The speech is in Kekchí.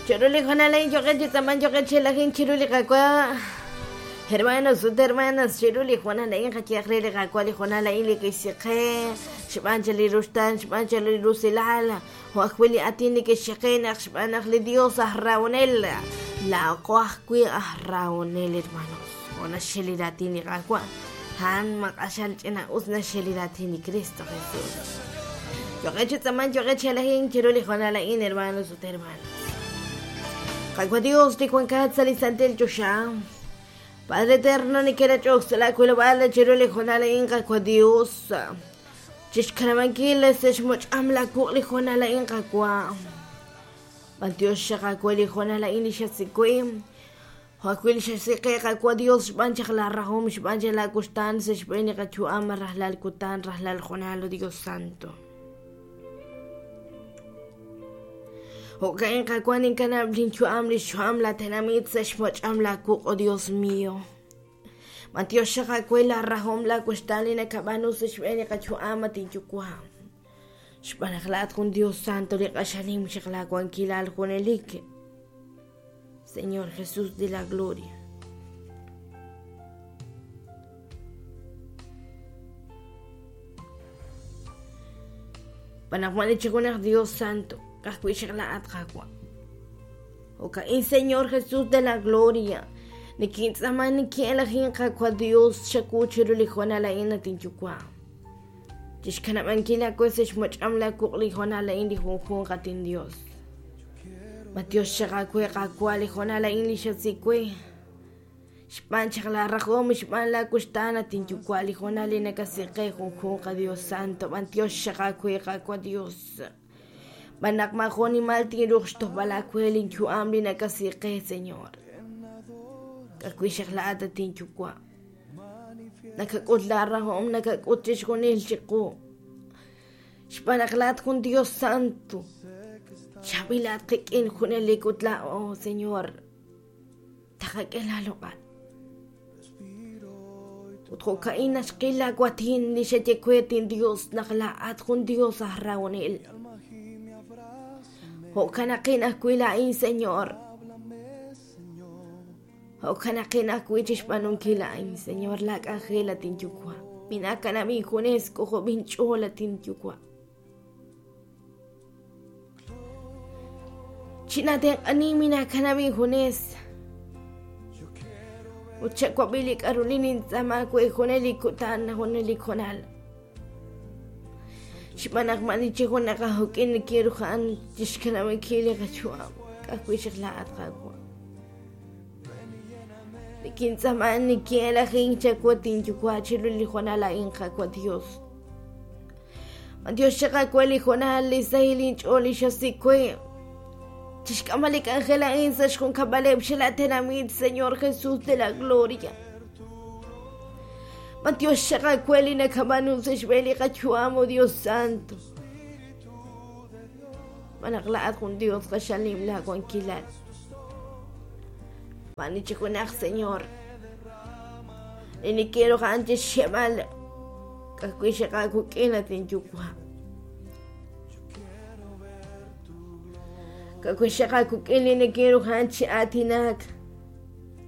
Chiru li hoonal a'in yo'qeb' chi tz'aman yo'qeb' chi elajink chiru li Qaawa'. Hermanos ut hermanas, chiru li hoonal a'in qayehaq re li Qaawa' li hoonal a'in li kixsi qe, xb'aan chaq li ruxtaan, xb'aan chaq li rusilal, jo' ajwi' li aatin li kixye qe naq xb'aan naq li Dios aj rahonel, laa'aqo ajwi' aj rahonel, hermanos. Jo' naxye li raatin li Qaawa', a'an ma q'axal ch'ina-us naxye li raatin li Kristo Jesus. Yo'qeb' chi tz'aman, yo'qeb' chi elajink chiru li hoonal a'in, hermanos ut hermanas. Qaawa' Dios li wankat sa' li santil choxa, Padre Eterno neke'rach'ok sa' laa wilob'aal chiru li hoonal a'in, Qaawa' Dios, chixkanab'ankil sa' xmoch'am laa wuq' li hoonal a'in, Qaawa'. B'antiox xaq aawe li hoonal a'in li xasik wi'. Jo' ajwi' li xasik qe, Qaawa' Dios, xb'aan chaq laa rahom, xb'aan chaq laa wuxtaan sa' xb'een li qayu'am rajlal kutan, rajlal hoonal, oh Dios Santo. Jo'ka'in, Qaawa', ninkanab' linyu'am, lix yu'am laa tenamit sa' xmoch'am laa wuq', oh Dios mío. B'antiox xaq aawe laa rahom, laa wuxtaan li nakab'aanu sa' xb'een li qayu'am, at inYuwa'. Xb'aan naq laa'at jun Dios Santo li q'axal nim chaq laa wankilal junelik. Señor Jesús de la Gloria. B'anaqwan chi junaq Dios Santo, ka'ajwi' xaq laa'at Qaawa'. Jo'ka'in Señor Jesús de la Gloria, nikintz'aama nikin'elajin Qaawa' Dios chawu chiru li hoonal a'in at inyuwa'. Chixkanab'ankil aawe sa' xmoch'am laawuq' li hoonal a'in li junjunq at inDios. Matiox xaq aawe Qaawa' li hoonal a'in li xasik we. Xb'aan chaq laa rajom, xb'aan laa wuxtaan at inyuwa' li hoonal li nakasik qe junjunq Dios Santo, b'antiox xaq aawe Qaawa' Dios. B'an naq maajo' nimal tinruuq xtojb'al aawe linyu'am li nakasik qe, Señor. Ka'ajwi' xaq laa'at at inyuwa'. Nakak'ut laa rahom, nakak'ut chixjunil chiqu. Xb'aan naq laa'at jun Dios Santo. Chaab'ilat qik'in junelik ut laa'o, Señor, taqak'e laaloq'al. Ut jo'ka'in naxqil laawatin li xaye we, tinDios, naq laa'at jun Dios aj rahonel. Jo'kanaqin ajwi' laa'in, Señor. Jo'kanaqin ajwi' chixb'aanunkil a'in, Señor, laa k'anjel, at inYuwa'. Minaakanab' injunes, k'ojob' inch'ool, at inYuwa'. Chinaatenq'ani, minaakanab' injunes. Ut chawab'i li k'a'ru li nintz'aama we junelik kutan, junelik hoonal. Xb'aan naq maani chi junaq aj juk'in nikinruhan chixkanab'ankil li qayu'am, ka'ajwi' xaq laa'at, Qaawa'. Nikintz'aama nikin'elajink chawu at inyuwa' chiru li hoonal a'in, Qaawa' Dios. B'antiox chaq aawe li hoonal li sahil inch'ool li xasik we. Chixk'amb'al li k'anjel a'in sa' xjunkab'aleb' xela tenamit, Señor Jesús de la Gloria. B'antiox chaq aawe li nakab'aanu sa' xb'een li qayu'am, oh Dios Santo. Xb'aan naq laa'at jun Dios q'axal nim laa wankilal. Maani chi junaq, Señor, li nikinruj a'an chixxeb'al ka'ajwi' xaq aawik'in, at inyuwa'. Ka'ajwi' xaq aawik'in li nikinruj a'an chi aatinak.